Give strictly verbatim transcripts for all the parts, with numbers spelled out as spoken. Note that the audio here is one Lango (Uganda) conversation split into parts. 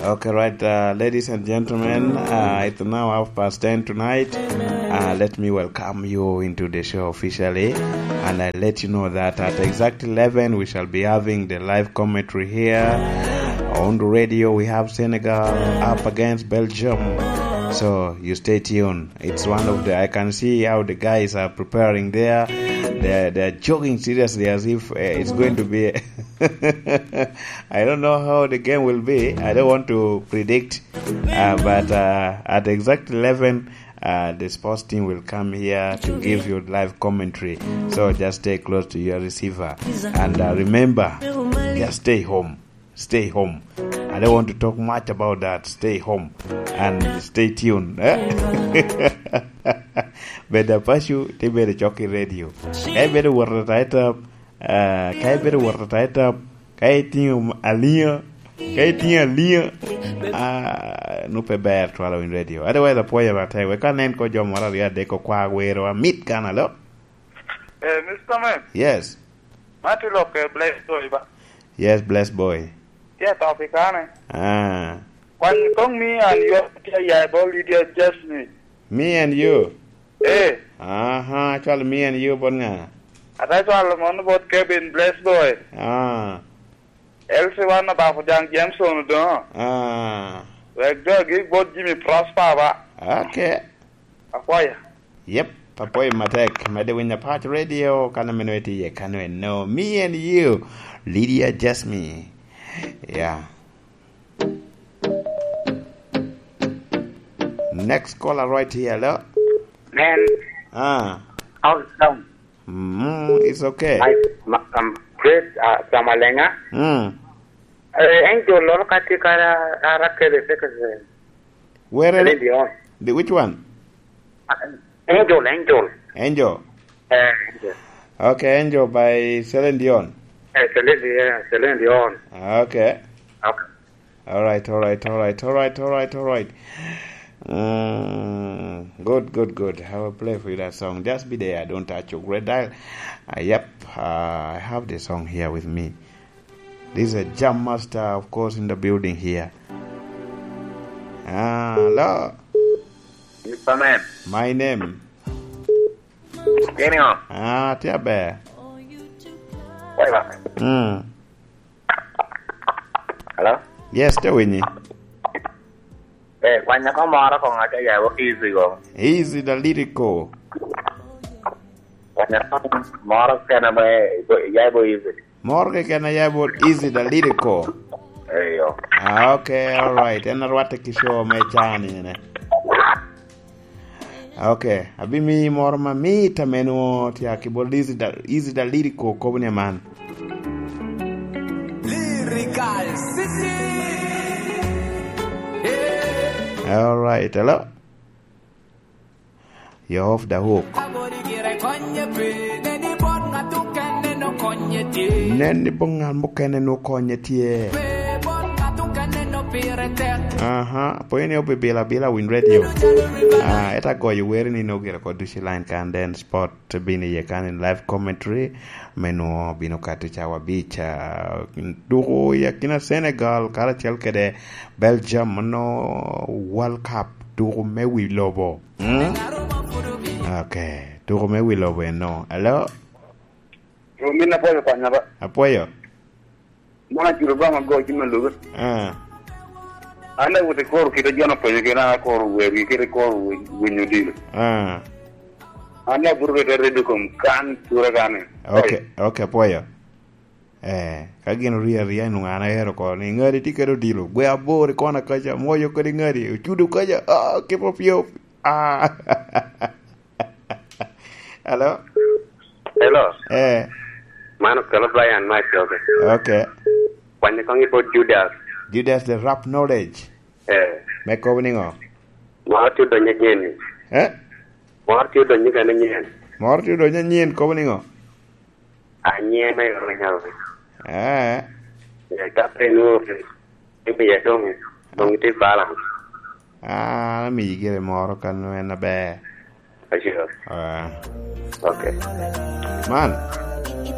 Okay, right, uh, ladies and gentlemen, uh, it's now half past ten tonight. Uh, let me welcome you into the show officially, and I let you know that at exact eleven we shall be having the live commentary here on the radio. We have Senegal up against Belgium, so you stay tuned. It's one of the, I can see how the guys are preparing there. They're, they're jogging seriously as if, uh, it's going to be. I don't know how the game will be. I don't want to predict, uh, but, uh, at exact eleven, uh, the sports team will come here to give you live commentary. So just stay close to your receiver. And, uh, remember, just stay home. Stay home. I don't want to talk much about that. Stay home and stay tuned. Eh? Bed apaco, te bedo cok i radio. Ka ibedo wot ata i tap, ah, ka ibedo wot ata i tap, ka itiŋo aliŋa, ka itiŋo aliŋa, ah, nu pe ber twala winy radio. Otherwise, apwoyo matek. Wek anen ko jo moro aryo adek okwa wero amit kan alo. Eh, Mister Man. Yes. Ma tye lok, eh, Bless Boy ba? Yes, Bless Boy. Tye atop i kane. Ah. Kwan kong me and you tye ya bol Lydia Jasmine. Me and you? Eh. Aha, cwalo me and you bot ŋa? Ata cwalo mono bot Kevin Bless Boy. Ah. Elsi wan abako jaŋ Jameson odoŋo. Ah. Wek dogi bot Jimmy Prosper ba. Okay. Akwaya. Yep, apwoyo matek. Medde winyo Apac Radio, kan ameno itye iye kano eno. Me and you, Lydia Jasmine. Yeah. Next caller right here, hello? Man, ah, how's it going? Mm, it's okay. I, ma-, I'm great, uh, from Alenga. Mm. Eh, Angel, lolo ka tye ka ra-, ra-, Raquel, eh, eh, where? Celine Dion. The, which one? Uh, Angel, Angel. Angel. Eh, Angel. Okay, Angel by Celine Dion. Eh, Celine Dion, Celine Dion. Okay. Okay. All right, all right, all right, all right, all right, all right. Mm, good, good, good. I will play for you that song. Just be there. Don't touch your red dial. Uh, yep, uh, I have the song here with me. This is a jam master, of course, in the building here. Ah, hello. Mister Man. My name. Kenny, oh. Ah, tye aber. Wait a minute. Mm. Hello? Yes, tye winyi. Eh, kwanya ko moro ko ŋaca ya wo easy go. Easy the lyrical. Kwanya ko moro kena me, ya bo easy. Moro keken a ya bot Easy the Lyrical. Eyo. Ah, okay, all right. En arwatte ki show me cani ene. Okay, abimiyi moro mamit ame nwo tye ki bot Easy the, Easy the Lyrical, kobo ni aman. Lyrical City. All right, hello. You're off the hook. Nen ni bot ŋat mukene nwo konye tye. Aha, pwony ni obibila bila win radio. Ah, eta goyo weri ni no gira kod duci line kan den spot bini ye kan in live commentary. Me nwo bino kati cawa bica. Duku ya kina Senegal karacel kede Belgium no World Cup duku me wi lobo. Mm? Okay. Tuko me wi lobo eno. Hello? Romin apwoyo kwanya ba. Apwoyo. Mwana juro ba mago jima lugo. Ah. Anda wote koro kito jono penyo kena koro weri kito koro winyo dilo. Ah. Anda buru kete redo kom kan tura kane. Okay, okay, apwoyo. Eh, ka gin orio aria, nwoŋo an aero oko ni, "Ŋadi tye kede odilo, gwe abor i kona kaca, mwoyo kede ŋadi, ocudo kaca, ah, kipo pyop, ah." Hello? Hello. Eh. Man okelo Brian Mike, okay. Okay. Kwanyo koŋ i bot Judas. Judas the rap knowledge. Eh. Me kobo niŋo? Moro tye odonyo anyen. Eh? Moro tye odonyo kene anyen. Moro tye odonyo anyen, kobo niŋo? Anyen me orinya. Eh. Eh, ka pe inwoŋo pe, imiye doŋ, doŋ itye balance. Ah, an amiyi gire moro kan en aber. Acio. Ah. Okay. Man.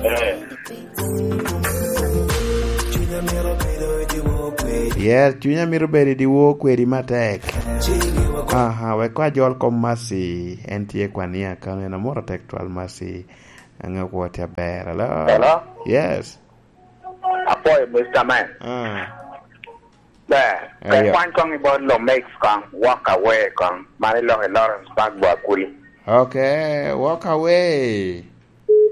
Eh. Yes, cunya mito bedo i dyewor kwedi matek. Aha, wek kwa jol kom Mercy, en tye kwania kano, en amoro tek twal Mercy. Ange kwo tye aber. Hello? Hello? Yes. Apwoyo, Mister Man. Ah. Ber. Ayo. Pe kwany kong i bot Lomix kong, walk away kong. Man iloko i Lawrence Park, Bwakuli. Okay, walk away.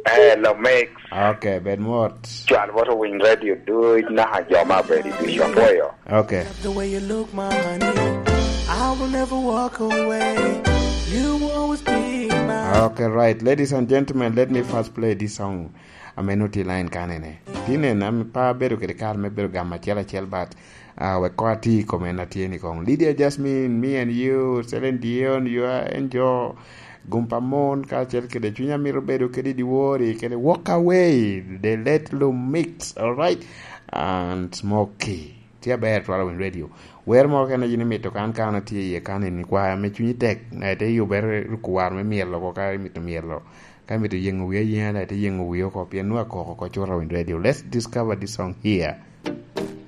Eh, Lomix. Okay, bed mot. Cwal bot owiny radio duc, naka jo ma bedi duc, apwoyo. Okay. The way you look, my honey, I will never walk away. You will always be my Okay, right. Ladies and gentlemen, let me first play this song. Ameno ti line kanene. Tinen, am pa bedo kede kar me bedo gam acel acel, but, uh, wek ko ati i kome na tye ni kong. Lydia Jasmine, me and you, Celine Dion, you are angel. Gumpa mon, ka acel kede cunya mito bedo kede diwori, kede walk away, the let lo mix, all right? And Smokey. Tye aber twala winy radio. Wer mo kene yin imito kan kan atye iye kan in ikwaya me cunyi tek, na ite yubere ruko war me myelo ko ka imito myelo. Ka imito yengo wiya yenga, na ite yengo wiya oko, pien nwa koko ko cura winy radio. Let's discover this song here.